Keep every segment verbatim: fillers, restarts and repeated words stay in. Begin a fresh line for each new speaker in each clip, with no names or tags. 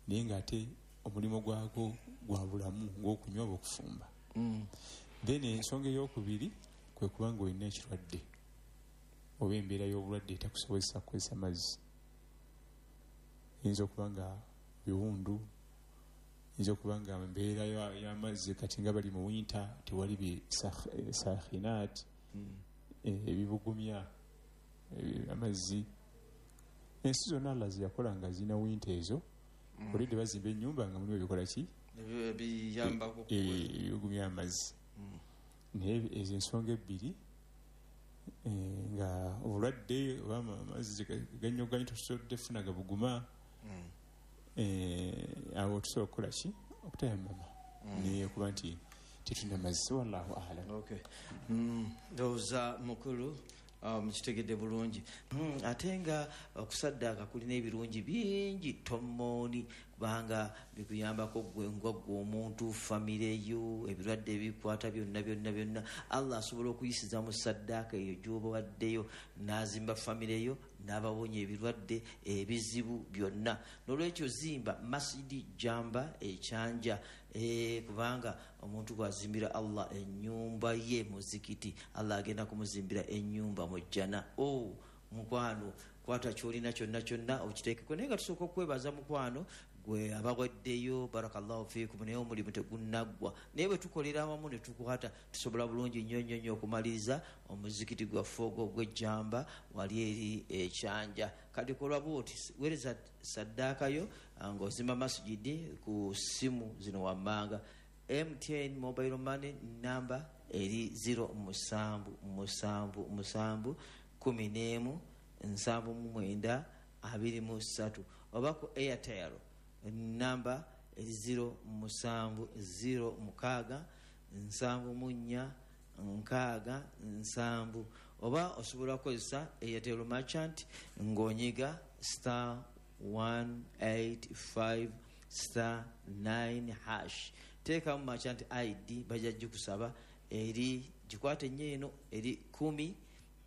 Naye ng'ate omulimu gwago gwa bulamu ng'okunywa oba okufumba.
Mm.
Then ensonga eyokubiri kwe kuba nga olina ekirwadde oba embeera y'obulwadde etakusobozesa kukozesa mazzi. Eyinza okuba nga biwundu, eyinza okuba nga embeera y'amazzi kati nga bali mu winter tewali bi sakhinat, ebibugumya amazzi. Ensi zonna Allah ze yakola nga zirina winter ezo, olidde bazimba ennyumba nga mulimu ebikola ki?
Ebiyambako
ebibugumya amazzi. Naye ezo ensonga ebbiri nga obulwadde oba amazzi ganyoganyo tosobodde funa gabuguma, awo tusobola okukola ki? Okutayamama. Naye okuba nti tetulina mazzi, wallahu a'lam.
Okay. Ndowooza mukulu mukitegedde bulungi. Ate nga okusaddaaka kulina ebirungi bingi tomooni, kubanga bikuyambako ggwe nga ggwe omuntu, famire yo, ebirwadde ebikwata byonna byonna byonna. Allah asobola okuyisiza mu saddaaka eyo gy'oba waddeyo n'azimba famire yo n'abawonya ebirwadde ebizibu byonna. N'olwekyo zimba masjidi Jamba ekyanja, kubanga omuntu bw'azimbira Allah ennyumba ye muzikiti, Allah agenda kumuzimbira ennyumba mu jjana. Oh, mukwano, kwata ky'olina kyonna kyonna okiteekeko. Naye nga tusooka okwebaza mukwano gwe abawaddeyo, barakallahu fiikum, naye omulimu tegunnaggwa. Naye bwe tukolera awamu ne tukwata tusobola bulungi nnyo nnyo nnyo okumaliriza omuzikiti gwaffe ogwo ogw'ejjamba wali eri ekyanja. Kati kola bw'oti, weereza saddaaka yo ng'ozimba masjidi ku ssimu zino wammanga. M T N mobile money namba eri zero musanvu musanvu musanvu kumi n'emu nsanvu mu mwenda abiri mu ssatu, oba ku Airtel namba eri zero musanvu zero mukaaga nsanvu mu nnya nkaaga nsanvu, oba osobola kukozesa Airtel merchant ng'onyiga star one eight five star nine hash. Teekamu merchant I D, bajja gikusaba, eri gikwate nnyo eno eri kumi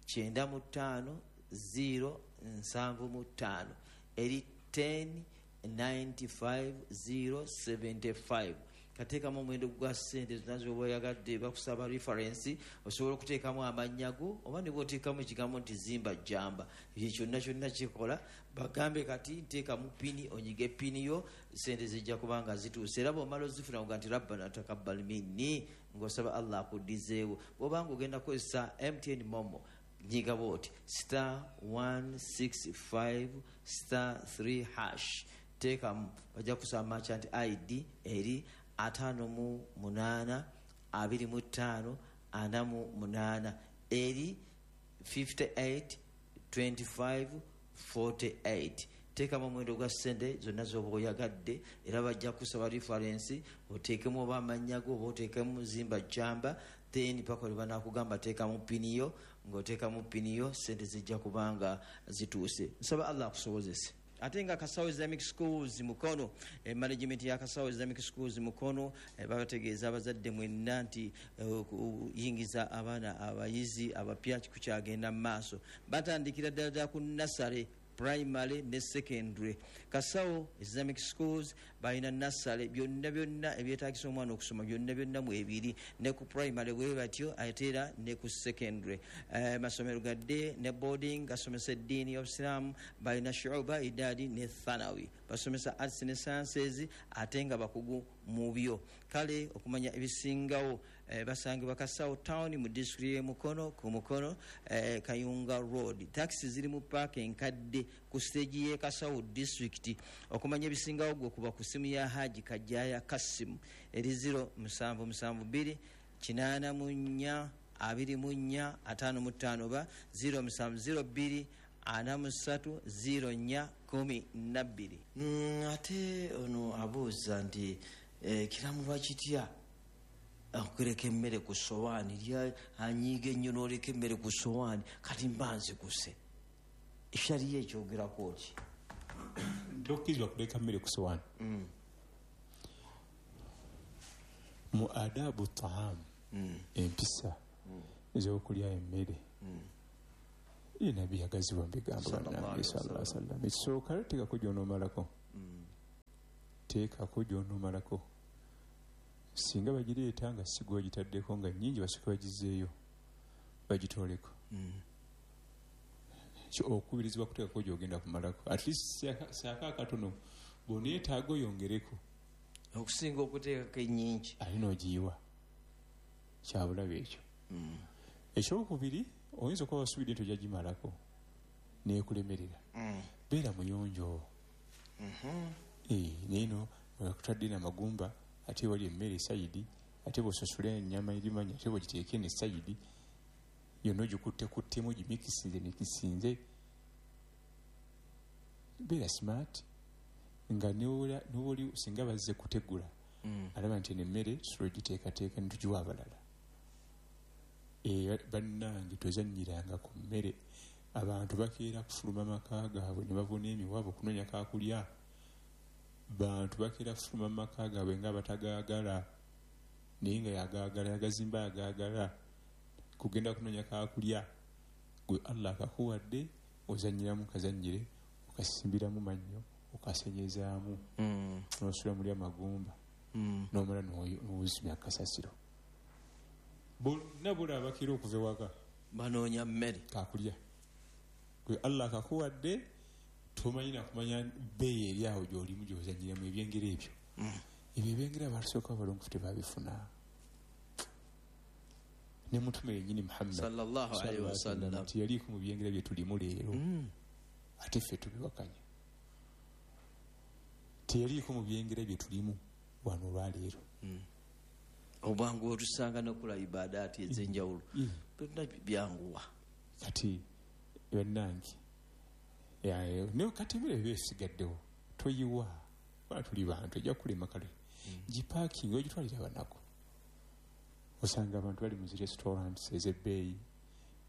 kyenda mu ttaano zero nsanvu mu ttaano, eri ten ninety five zero seventy five. Kateekamu omuwendo gwa ssente zonna z'oba oyagadde, bakusaba reference, osobola okuteekamu amannya go oba ne bw'oteekamu ekigambo nti zimba jjamba, ekyo kyonna kyonna kikola. Bagambe kati nteekamu pini, onyige pini yo, ssente zijja kuba nga zituuse. Era bw'omala ozifuna oga nti rabbana takabbal minni, ng'osaba Allah akuddizeewo. Bw'oba ng'ogenda kukozesa M T N Momo, nyiga bw'oti star one six five star three hash, teekamu, bajja kusaba merchant I D eri ataano mu munaana abiri mu ttaano ana mu munaana, eri fifty eight twenty five forty eight. Teekamu omuwendo gwa ssente zonna z'oba oyagadde, era bajja kusaba reference, oteekemu oba amannya go oba oteekemu zimba jjamba, then paka lwe banaakugamba teekamu pini yo, ng'oteekamu pini yo, ssente zijja kubanga zituuse. Nsaba Allah akusobozese. Ate nga Kasawo Islamic Schools Mukono, eh, management ya Kasawo Islamic Schools Mukono, eh, babategeeza abazadde mwenna nti okuyingiza eh, abaana abayizi abapya kukyagenda mu maaso. Batandikira ddala ddala ku nursery, primary ne secondary. Kasawo Islamic Schools balina nursery, byonna byonna ebyetaagisa omwana okusoma byonna byonna mu ebiri, ne ku primary bwe batyo ate era ne ku secondary. Eh, masomero gadde ne boarding gasomesa eddiini y'Obusiraamu, balina shuba, idadi ne thanawi, basomesa arts ne sciences ate nga bakugu mu byo. Kale okumanya ebisingawo eh, basangibwa Kasawo Town mu disitulikiti y'e Mukono ku Mukono eh, Kayunga Road. Taxi ziri mu paaka enkadde ku stage y'e Kasawo district. Okumanya ebisingawo gwe kuba ku ssimu ya Haji Kajjaya Kassimu eri zero musanvu musanvu bbiri kinaana mu nnya abiri mu nnya ataano mu ttaano oba zero musanvu zero bbiri ana mu ssatu zero nnya kumi na bbiri. Mm, ate ono abuuza nti eh, kiramulwa kitya okuleka emmere ku sowaani, lya anyiiga ennyo n'oleka emmere ku sowaani, kati mba nziguse. Eshariya ekyogerako ki?
Tokkirizibwa kuleka mmere ku sowaani. Mu adabu taam, empisa ez'okulya emmere, ye Nabbi yagazibwa mu bigambo bannange sallallahu alaihi wasallam. Ekisooka teekako gy'onoomalako. Teekako gy'onoomalako. Singa bagireeta nga si gwe bagitaddeko nga nnyingi, basooke bagizeeyo bagitooleko.
Mm.
Okukubirizibwa kuteekako gy'ogenda kumalako, at least saako akatono, bw'oneetaaga oyongereko
okusinga okuteekako ennyingi
ate n'ogiyiwa. Kyabulabe ekyo.
Mm.
Ekyokubiri, oyinza okuba wasuubidde nti ojja gimalako neekulemerera.
Mm.
Beera muyonjo.
Mhm.
Eh, naye no akutadde n'amagumba, ate wali emmere esayidi, ate bw'osasula ennyama erimanya, ate bw'ogiteeka eno esayidi yonna ogikuttekuttemu, ogimikisinze mikisinze. Beera smart nga newoli singa bazze kutegula
Mm.
alaba nti eno emmere tusobola ogiteekateeka ne tugiwa abalala. Eh, bannange tozannyiranga ku mmere. Abantu bakeera kufuluma maka gaabwe ne bavuna emiwabo okunoonya kakulya. Bantu bakeera kufuluma maka gaabwe nga batagaagala, naye nga yagaagala, yagazimba yagaagala kugenda kunoonya kakulya. Gwe Allah akakuwadde ozannyiramu kazannyire, okasimbiramu mannyo, okasenyezaamu,
Mm.
n'osula muli amagumba,
Mm.
n'omala n'ozimya kasasiro. Bonna bulaba bakeera okuva ewaka
banoonya mmere
kakulya. Gwe Allah akakuwadde tomanyi nakumanya bbeeyi eri awo gy'olimu gy'ozannyiramu ebyengera ebyo.
Mm.
Ebyo ebyengera abatusooka abalongo tebabifuna. Ne mutume yennyini Muhammad
sallallahu alaihi wasallam
nti yaliiko mu byengera bye tulimu leero,
Mm.
ate ffe tubiwakanya. Teyaliiko mu byengera bye tulimu wano olwaleero.
Mm. Obwangu otusanga n'okola ibadaati ez'enjawulo
Mm.
byonna byanguwa.
Kati bannange, naye kati emmere eba esigaddewo toyiwa, kuba tuli bantu ejja kulema kale. Gipaakinga ogitwalira abanaku. Osanga abantu bali mu zi restaurants ez'ebbeeyi,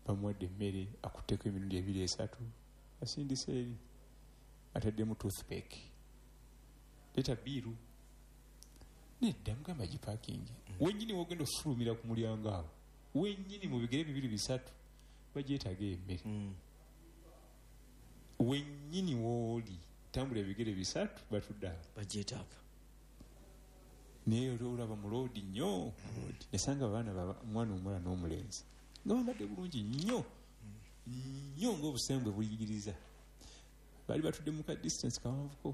bamuwadde emmere akutteko emirundi ebiri esatu, asindise eri, ataddemu toothpick, leeta biiru. Nedda, mugamba gipaakinge. Wennyini w'ogenda okufulumira ku mulyango awo, wennyini mu bigere bibiri bisatu bagyetaaga emmere.
Mm.
Wennyini w'oli tambula ebigere bisatu batudde awo
bagyetaaga.
Naye oli olaba muloodi nnyo, muloodi. Nasanga abaana baba, omwana omuwala n'omulenzi nga bambadde bulungi nnyo nnyo ng'obusembwe buyigiriza. Baali batudde mu ka distance kawanvuko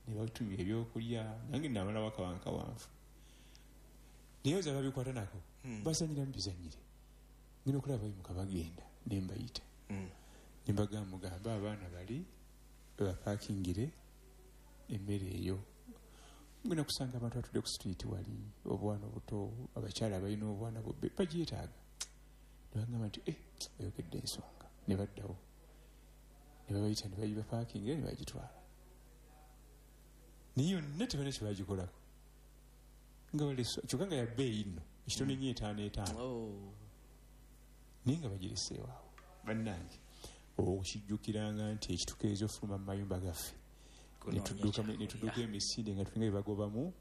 ne batumya ebyokulya, nange namalawo akawanvu kawanvu. Naye oza babikwata nako,
Mm.
bazannyiramu bizannyire. Ngenda okulaba bayimuka bagenda ne mbayita.
Mm.
Ne mbagamba, mugambe abaana bali bapaakingire emmere eyo. Ngenda kusanga abantu batudde ku street wali, obwana obuto, abakyala abalina obwana bubbe bagyetaaga. Ne bagamba nti, eh, oyogedde ensonga. Ne baddawo. Ne babayita ne bagibapaakingira ne bagitwala. Naye yonna tebalina kye bagikolako. Nga balese, kyokka nga ya bbeeyi nno, ekitone nnyo etaano etaano.
Oh.
Naye nga bagireseewo awo. Bannange, okukijjukiranga nti ekitukeeza ofuluma mu mayumba gaffe,
Kunoonya
ne tudduka
kyakulya.
ne tudduka emisinde nga tulinga bye bagobamu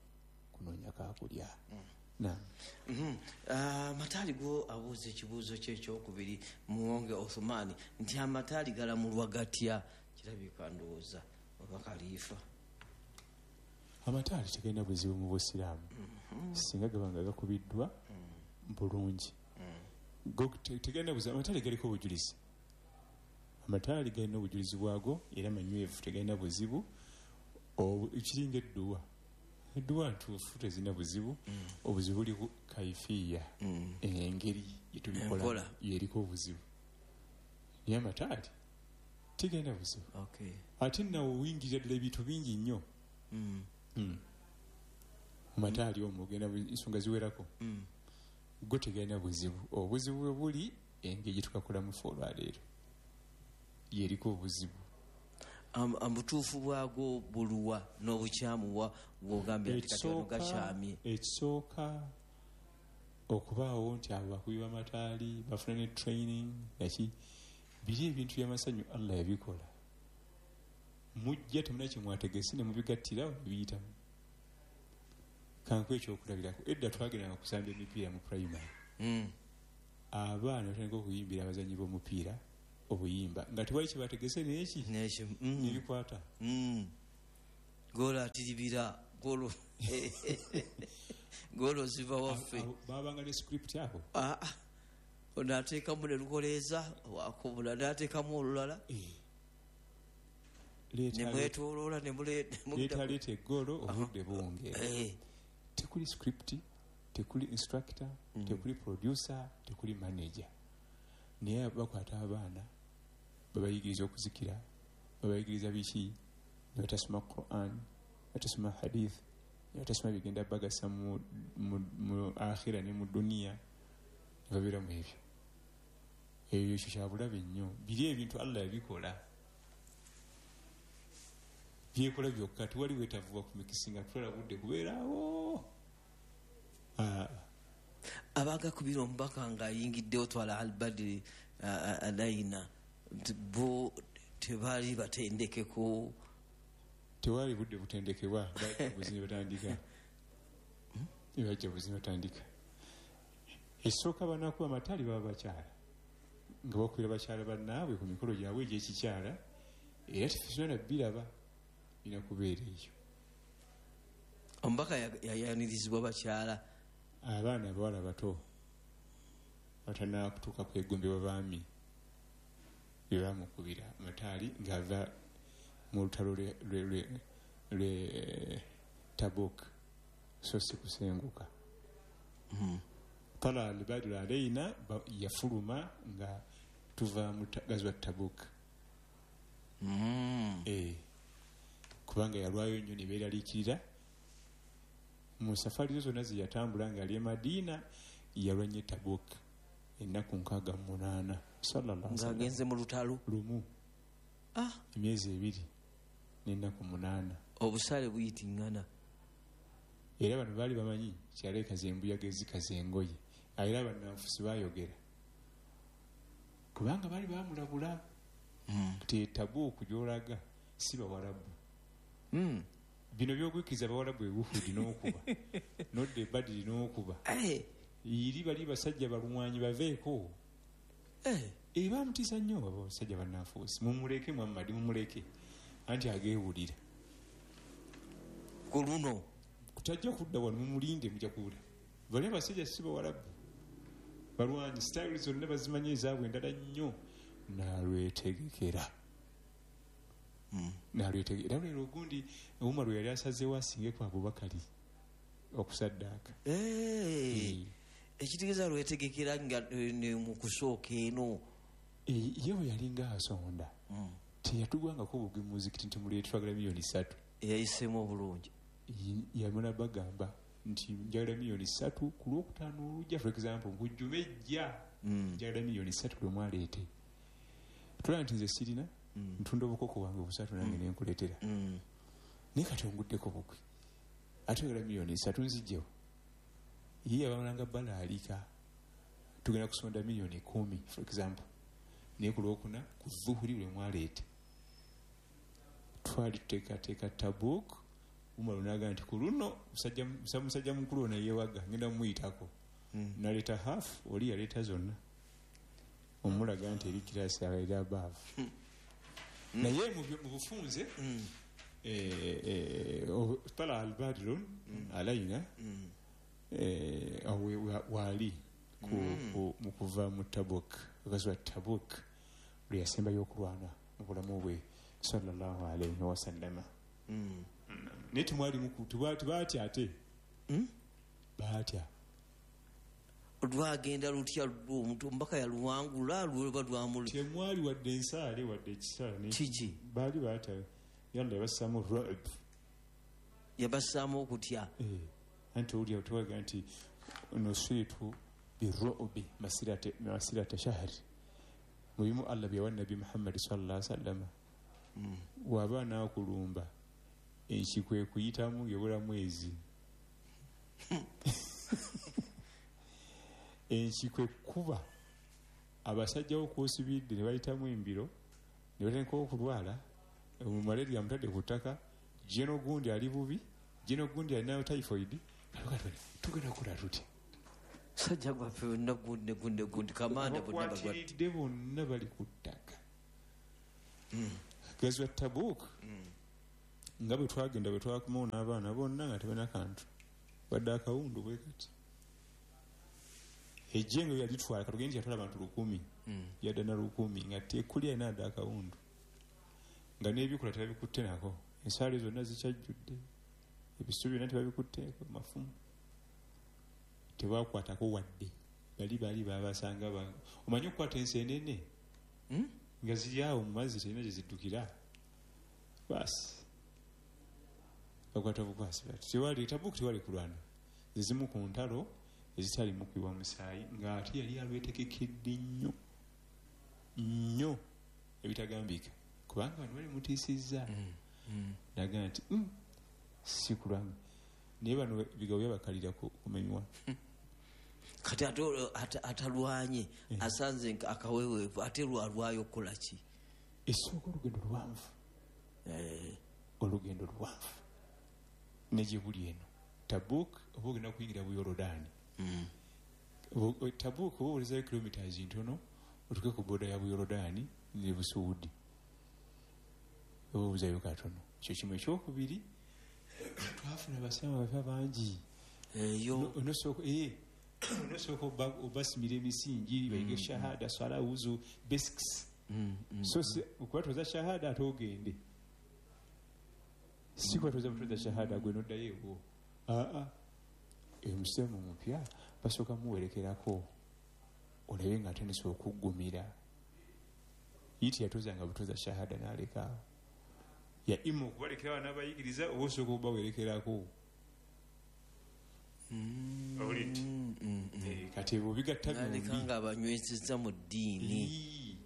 kunoonya kaakulya.
Mm.
Naam.
Mhm. Ah, amataali go abuuza ekibuuzo kye ekyokubiri Muwonge Othumani nti amataali galamulwa gatya? Kirabika ndowooza oba kaliifa.
Amataali tegalina buzibu mu Busiraamu.
Mhm.
Singa gaba nga gakubiddwa
Mm.
bulungi.
Mm.
Go te-, tegalina buzibu, amataali galiko obujulizi. Amataali galina obujulizi bwago era manywevu, tegalina buzibu. Obu-, kiringa edduwa. Edduwa ntuufu tezirina buzibu.
Mm.
Obuzibu buli ku kaifiya.
Mm.
Engeri gye tubikola
Enkola.
yeriko obuzibu. Naye amataali tegalina buzibu.
Okay.
Ate nnawe oyingirira ddala ebintu bingi nnyo.
Mm.
Mm. Amataali omwo ogenda bu-, ensonga ziwerako.
Mm.
Go tegalina buzibu. Obuzibu bwe buli engeri gye tukakolamu ffe olwaleero yeriko obuzibu.
Am-, obutuufu bwagwo buluwa n'obukyamu wa bw'ogambye nti kati wano
Ekisooka,
gakyamye?
Ekisooka okubaawo nti abo bakubi b'amataali bafuna ne training naki, biri ebintu by'amasanyu Allah yabikola. Mujja temulina kye mwategese ne mubigattira ne biyitamu. Kankuwe ekyokulabirako, edda twagendanga kusamba emipiira mu primary.
Mm.
Abaana batandika okuyimbira abazannyi b'omupiira obuyimba nga tewali kye bategese n'eki?
N'eki, mm.
Ne bikwata.
Mm. Golo atiribira golo golo ziva waffe.
Babanga ne script yabo.
Ah ah. Onateekamu ne lukoleeza wakubula n'ateekamu olulala. Ne mwetooloola ne muleeta
leeta eggolo obudde bwongera. Tekuli script, tekuli instructor, mm. tekuli producer, tekuli manager. Naye bakwata abaana babayigiriza okuzikira, babayigiriza biki, ne batasoma Quran, batasoma hadith, ne batasoma bigenda bagasa mu, mu, mu akhira ne mu duniya, ne babeera mu ebyo. Ebyo ekyo kyabulabe nnyo. Biri ebintu Allah yabikola. Byekola byokka, tewali weetavuba ku mikisinga kutwala budde kubeerawo. Ah.
Abagakubira omubaka ng'ayingiddewo twala al-Badri alayina bo tebaali batendekeko.
Tewali budde butendekebwa, bajja buzinyi batandika. Bajja buzinyi batandika. Esooka banakuba amataali baba bakyala nga bakubira bakyala bannaabwe ku mikolo gyabwe egy'ekikyala, era tefisona biraba bina kubeera eyo.
Omubaka yayanirizibwa bakyala.
Abaana abawala bato batannaba kutuuka kwegombebwa baami be baamukubira amataali ng'ava mu lutalo lwe Tabuk, so si kusenguka. Tala al-Badru alayna yafuluma nga tuva mu gazwa Tabuk. Eh, kubanga yalwayo nnyo ne beeraliikirira. Mu safari zonna ze yatambula ng'ali e Madiina yalwa nnyo Tabuk ennaku nkaaga mu munaana sallallahu alaihi wasallam.
Ng'agenze mu lutalo
lumu.
Ah,
emyezi ebiri n'ennaku munaana.
Obusaale buyitiŋŋana.
Era bano baali bamanyi kyalekaza embuyaga ezikaza engoye. Era bannanfusi baayogera kubanga baali bamulabula nti Tabuk gy'olaga si Bawarabu.
Mm.
Bino by'ogwikiriza Bawarabu e Uhudi n'okuba nodda e Badiri n'okuba eri bali basajja balwanyi baveeko. Eh, bamutiisa nnyo abo basajja bannanfuusi. Mumuleke Muhammadi, mumuleke anti ageewulira
ku luno
kutajja kudda wano, mumulinde mujja kuwulira. Bali abasajja si Bawarabu balwanyi, sitayiro zonna bazimanyi ezaabwe endala nnyo. Nalwetegekera nalwetegekera. Era leero ogundi Umar yali asazeewo asinge ku Abubakari okusaddaaka.
Ekitegeeza lwetegekera nga mu kusooka eno.
Ye bwe yalinga asonda teyatugwangako bugwi mu muzikiti nti muleete twagala miliyoni ssatu.
Eyayiseemu obulungi.
Yamala bagamba nti njagala miliyoni ssatu ku lwokutaano olujja, for example nkujjuma ejja njagala miliyoni ssatu lwe mwaleete. Tulaba nti nze sirina, ntunda obukoko bwange busatu nange ne nkuleetera. Naye kati onguddeko bugwi ate oyagala miliyoni ssatu nzijjewo. Ye yabamalanga balaalika tugenda kusonda miliyoni kumi for example, naye ku lwokuna ku zuhuri lwe mwaleete twali tuteekateeka Tabuk. Umar n'agamba nti ku luno musajja mukulu ono yeewaga ngenda mumuyitako. Naleeta half, oli yaleeta zonna, omulaga nti eri kirasi abaeri abaavu. Naye mu bufunze tala al-Badru alayna waali mu kuva mu Tabuk, gazwa Tabuk lwe yasembayo okulwana mu bulamu bwe sallallahu alaihi wasallama. Naye temwalimu tebaatya ate baatya.
Lwagenda lutya omuntu omubaka yaluwangula lweba lwamuli.
Temwali wadde ensaale wadde ekisaale.
Kiki?
Baali baatya. Yalla yabassaamu ru'b.
Yabassaamu okutya.
Eh, anti owulira tuwaga nti nusiritu biru'bi masirata masirata shahri. Mubimu Allah bye yawa Nabbi Muhammad sallallahu alaihi wasallam. Waba n'akulumba enkikwe kuyitamu ng'ebula mwezi. Enkikwe kuba abasajja okwosibidde ne bayitamu embiro ne batandika okulwala, malaria amutadde ku ttaka, geno gundi ali bubi, geno gundi alina typhoid. Tugenda kukola tutya?
Sajja gwaffe bonna gundi gundi gundi kamanda bonna
bakwatiridde bonna bali ku ttaka. Gazwa Tabuk Nga bwe twagenda bwe twakomawo n'abaana bonna nga tebalina kantu, wadde akawundu bwe kati. Ejjengo yalitwala katugende nti yatwala abantu lukumi, yadda na lukumi nga tekuli alina adde akawundu, nga n'ebikola tebabikutte nako, ensaali zonna zikyajjudde, ebisubi byonna tebabikutteeko, mafumu tebakwatako wadde. Bali bali babasanga ba omanyi okukwata ensenene nga ziri awo mu mazzi terina gye ziddukira, baasi bakwata bukwasi bati tewali Tabuuki, tewali kulwana, ezimu ku ntalo ezitalimu kuyiwa musaayi, ng'ate yali alwetegekedde nnyo nnyo ebitagambika, kubanga bano bali mutiisizza. Nagamba nti si kulwanga, naye bano ebigabo byabakalira kumenywa.
Kati ate atalwanye asanze akaweweevu, ate lwalwayo okukola ki?
Esooka olugendo luwanvu, olugendo luwanvu ne gye buli eno Tabuuk oba ogenda kuyingira Buyorodaani. Tabuuk oba owulizayo kilometers ntono otuuke ku booda ya Buyorodaani ne Busuudi, oba obuzayo katono. Ekyo kimu. Ekyokubiri, twafuna abasiraamu abapya bangi.
Eyo
onosooka onosooka obasimira emisingi, bayige shahada, swala, wuzu, basics. So okubatoza shahada ate ogende, si kubatoza butoza shahada gwe noddayo ewuwo. Aa, omusiraamu omupya basooka muwerekerako olabe nga atandise okuggumira. Ye teyatozanga butoza shahada n'alekaawo, ya ima okubalekera abaana abayigiriza oba osooka okubawerekerako. Owulidde? Kati ebyo bigatta
byombi nga abanywezezza mu ddiini.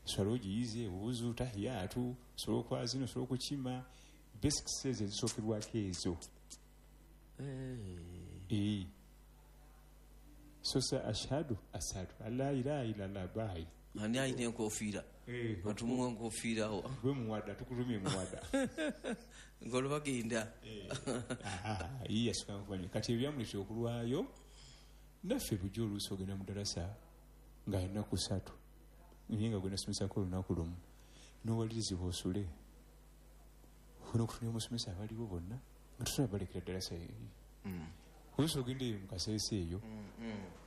Swala ogiyize, wuzu, tahiyaatu, osobola okwazina, osobola okukima, basics ezo ezisookerwako ezo. So sa ashhadu asadu alla ilaha illallah bayi.
Ani alina enkofiira? Batumuwa enkofiira awo.
Gwe muwada, tukutumye muwada.
Ng'olwo bagenda.
Ye yasooka nkumanya. Kati ebyamuleetera okulwayo, naffe bujja oluusi ogenda mu ddalasa nga ennaku ssatu, naye nga gwe nasomesako olunaku lumu, n'owalirizibwa osule. Olw'okutunira omusomesa abaliwo bonna nga tosobola balekera ddalasa eyo. Oluusi ogenda eyo mu Kasese eyo,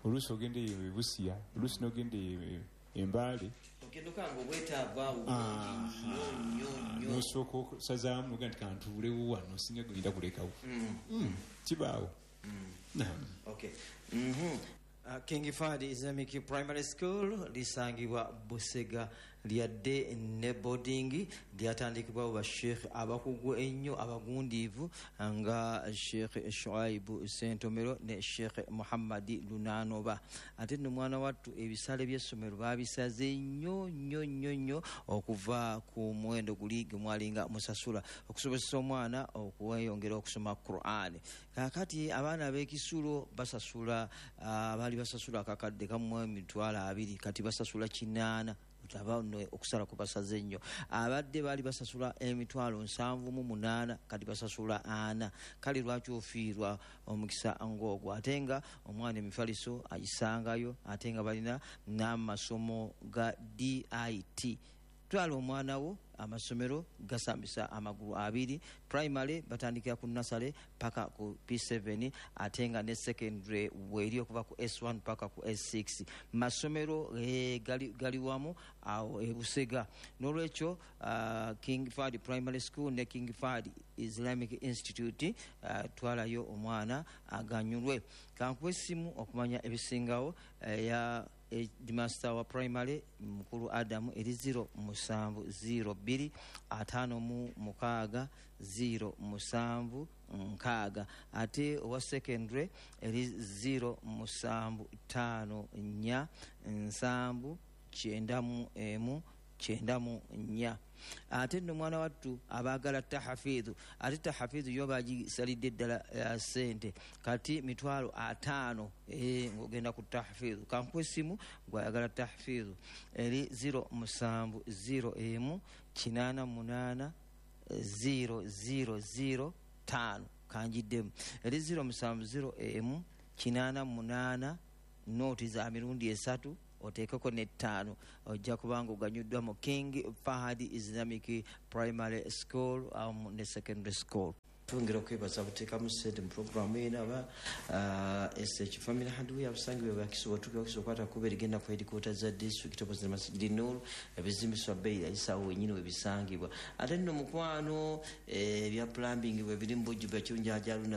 oluusi ogenda eyo e Busia, oluusi n'ogenda eyo Embaale.
Ogenda okanga obwetaavu awo bungi nnyo nnyo nnyo.
N'osooka okusazaamu n'ogamba nti kantuulewo wano, singa genda kulekawo. Kibaawo.
Okay. King Fahd Islamic Primary School lisangibwa Busega, lyadde ne boarding, lyatandikibwawo ba Sheikh abakugu ennyo abagundiivu nga Sheikh Shuaibu Ssentomero ne Sheikh Muhammad Lunanoba. Ate nno mwana wattu ebisale by'essomero baabisaze nnyo nnyo nnyo nnyo okuva ku muwendo guli gwe mwalinga musasula okusobozesa omwana okweyongera okusoma Quran. Kaakati abaana ab'ekisulo basasula, abaali basasula akakadde kamu emitwalo abiri, kati basasula kinaana. Okusala kubasaze nnyo. Abadde baali basasula emitwalo nsanvu mu munaana, kati basasula ana. Kale lwaki ofiirwa omukisa ng'ogwo? Ate nga omwana emifaliso agisangayo, ate nga balina n'amasomo ga D I T. Twala omwana wo, amasomero gasambisa amagulu abiri. Primary batandikira ku nursery paka ku P seven, ate nga ne secondary weeri okuva ku S one paka ku S six. Masomero eh, gali, gali wamu awo e Busega. N'olwekyo uh, King Fahd Primary School ne King Fahd Islamic Institute, uh, twalayo omwana aganyulwe. Kankuwe essimu okumanya ebisingawo ya uh, headmaster wa primary mukulu Adamu eri zero musanvu zero bbiri ataano mu mukaaga zero musanvu nkaaga, ate owa secondary eri zero musanvu ttaano nnya nsanvu kyenda mu emu kyenda mu nnya. Ate nno mwana wattu abaagala tahafidhu, ate tahafidhu yo bagisalidde ddala ssente kati mitwalo ataano ng'ogenda ku tahafidhu. Kankuwa essimu gw'ayagala tahafidhu eri zero musanvu zero emu kinaana munaana zero zero zero ttaano. Kanjiddemu eri zero musanvu zero emu kinaana munaana nooti za mirundi esatu Oteekeko n'ettaano, ojja kubanga oganyuddwa mu King Fahad Islamic Primary School um, ne Secondary School. Twongera okwebaza buteekamu ssente mu puroguramu eno aba uh, S H Family Hardware, abasangibwa Wakiso, watuuka Wakiso okwata kuba erigenda ku headquarter za district opposite Masjid Nur, ebizimbiswa bbeeyi ayisawo wenyini webisangibwa. Ate nno mukwano, ebya plumbing bwe biri mu bujjuvu, ekirungi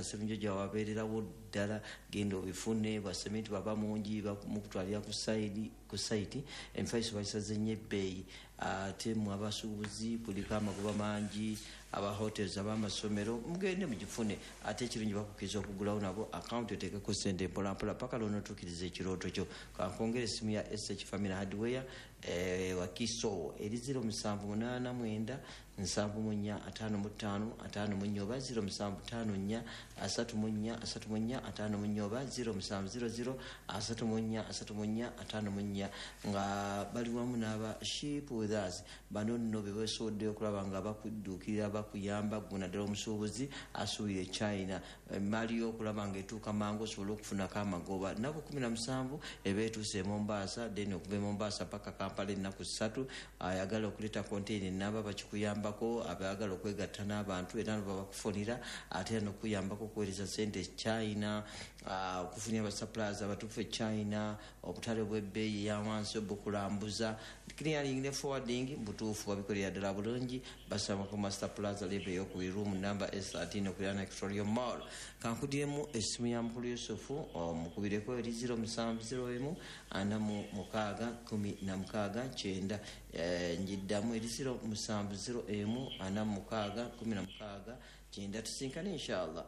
Serunjoja wabeererawo ddala, genda obifune. Bwa sementi bwaba mungi, mukutwalira ku site ku site Emifaliso bagisaze nnyo ebbeeyi. Ate mu abasuubuzi kuliko amagoba mangi, aba hotels, ab'amasomero, mugende mugifune. Ate ekirungi bakukkiriza okugulawo nabo akawunti, oteekeko sente mpolampola paka lwonootuukiriza ekirooto kyo. Kankwongera essimu ya S H Family Hardware, eh, Wakiso, eri zero musanvu munaana mwenda nsanvu mu nnya ataano mu ttaano ataano mu nnya, oba zero musanvu ttaano nnya asatu mu nnya asatu mu nnya ataano mu nnya, oba zero musanvu zero zero asatu mu nnya asatu mu nnya ataano mu nnya, nga bali wamu n'aba Ship With Us. Bano nno be beesoboddeyo okulaba nga bakudduukirira, bakuyamba gwe naddala omusuubuzi asuubira e China, emaali y'okulaba nga etuuka mangu osobole okufunako amagoba. Nnaku kumi na musanvu eba etuuse e Mombasa, then okuva e Mombasa paka Kampala ennaku ssatu. Ayagala okuleeta konteina enamba bakikuyambako, abayagala okwegatta n'abantu era nabo bakufunira, ate era nokuyambako okuweereza sente e China, ah, okufunira abasuppliers abatuufu e China, obutale bw'ebbeeyi eyawansi obukulambuza, clearing ne forwarding butuufu babikolera ddala bulungi. Basaba ku Master Plaza, level eyokubiri, room number S thirteen, okuliraana Victoria Mall. Kankudiremu essimu ya mukulu Yusufu, omukubireko eri zero musanvu zero emu ana mu mukaaga kumi na mukaaga kyenda. Eh, njiddamu eri zero musanvu zero emu ana mu mukaaga kumi na mukaaga kyenda. Tusinkane inshallah.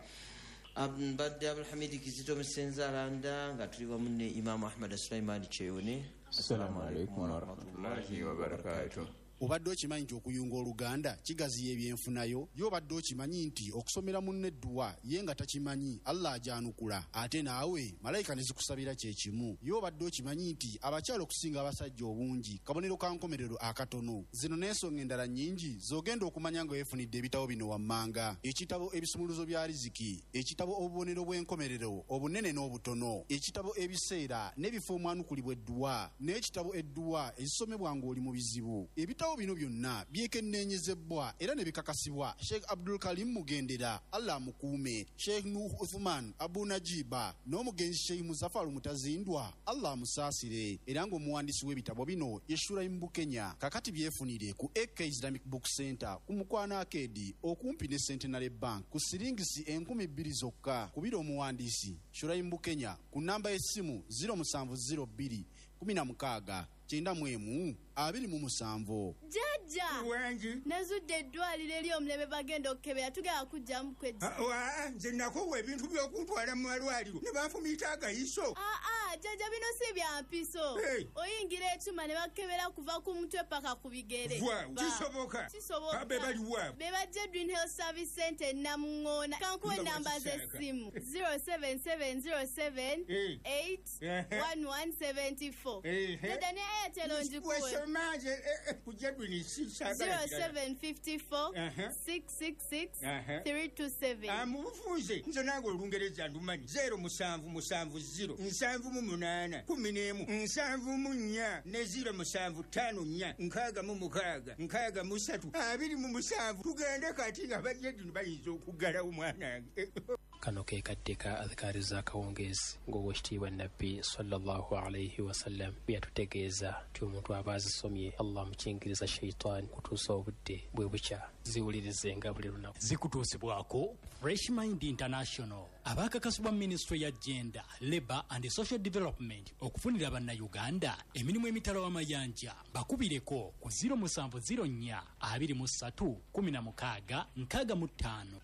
Mbadde Abdulhamidi Kizito Musenza Alanda, nga tuli wamu ne Imamu Ahmad Sulaiman Kyeyune.
Assalamu alaikum warahmatullahi wabarakatuh.
Obadde okimanyi nti okuyunga oluganda kigaziya ebyenfunayo? Ye obadde okimanyi nti okusomera munne edduwa ye nga takimanyi, Allah ajanukula, ate naawe malayika ne zikusabira kyekimu? Ye obadde okimanyi nti abakyala okusinga abasajja obungi kabonero ka nkomerero akatono? Zino n'ensonga endala nnyingi z'ogenda okumanya nga weefunidde ebitabo bino wammanga: ekitabo Ebisumuluzo bya Riziki, ekitabo Obubonero bw'enkomerero obunene n'obutono, ekitabo Ebiseera n'ebifo omwanukulibwa edduwa, n'ekitabo Edduwa ezisomebwa ng'oli mu bizibu. Ebitabo bino byonna byekenneenyezebwa era ne bikakasibwa Sheikh Abdul Karim Mugendera, Allah amukuume, Sheikh Nuh Uthman Abu Najiba n'omugenzi Sheikh Muzafaru Mutazindwa, Allah amusaasire, era ng'omuwandiisi w'ebitabo bino ye Shuraim Bukenya. Kakati byefunire ku A K Islamic Book Center ku Mukwano Arcade, okumpi ne Centenary Bank, ku siringisi enkumi bbiri zokka. Kubira omuwandiisi Shuraim Bukenya ku namba y'essimu zero musanvu zero bbiri kumi na mukaaga kyenda mu emu abiri mu musanvu.
Jjajja!
Wangi.
Nazudde eddwaliro ery'omulembe, bagenda okukebera, tugenda kujjamu kwezi.
Ah, wa, nze nakowa ebintu by'okuntwala mu malwaliro ne banfumiita agayiso.
Aa, jjajja, bino si bya mpiso.
Hey.
Oyingira ekyuma ne bakebera kuva ku mutwe paka ku bigere.
Waaw,
Ba-
kisoboka?
Kisoboka.
Abe baliwa?
Be bajja Green Health Service Center e Namuŋŋoona. Kankuwe
Nga
enamba
wakisaaka.
z'essimu: zero seven seven zero seven
Eh.
eight
Ehe.
one one seven four.
Ehe.
Jjajja, ne Airtel ngikuwe.
Wesoma nze eh, eh, ku Jedwin sisaagala kirala.
zero seven five four
Aha.
six six six
Aha.
three two seven.
Ah, mu bufunze nze nange olungereza ndumanyi. zero musanvu musanvu zero nsanvu mu munaana kumi n'emu nsanvu mu nnya ne zero musanvu ttaano nnya nkaaga mu mukaaga nkaaga mu ssatu abiri mu musanvu. Tugende kati, abajedini bayinza okuggalawo mwanange.
Kano ke kadde ka adhikaari z'akawungeezi, ng'owekitiibwa Nabbi sallallahu alaihi wasallam bwe yatutegeeza nti omuntu aba azisomye, Allah amukingiriza shaitaani kutuusa obudde bwe bukya. Ziwulirizenga buli lunaku.
Zikutuusibwako Fresh Mind International, abakakasibwa Minisitule ya Gender, Labour and Social Development okufunira Bannayuganda emirimu emitala w'amayanja. Bakubireko ku zero musanvu zero nnya abiri mu ssatu kumi na mukaaga nkaaga mu ttaano.